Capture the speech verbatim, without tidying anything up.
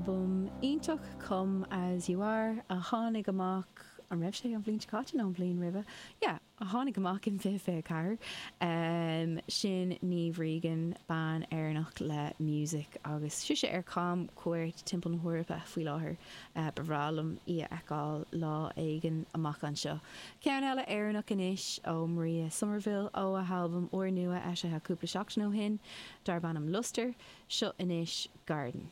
albam iontach Come As You Are a tháinig amach an raibh sé an bhliain seo caite nó an bhliain roimhe. Yeah, a tháinig amach in fiche fiche ceathair. Um, sin Niamh Regan bean Éireannach le music agus sise ar camchuairt timpeall na hEorpa faoi láthair uh, ba bhreá liom í a fheiceáil lá éigin amach anseo. Ceann eile Éireannach anois ó Maria Somerville ó a halbam úrnua eisithe cúpla seachtain ó shin, darb ainm Luster, seo anois Garden.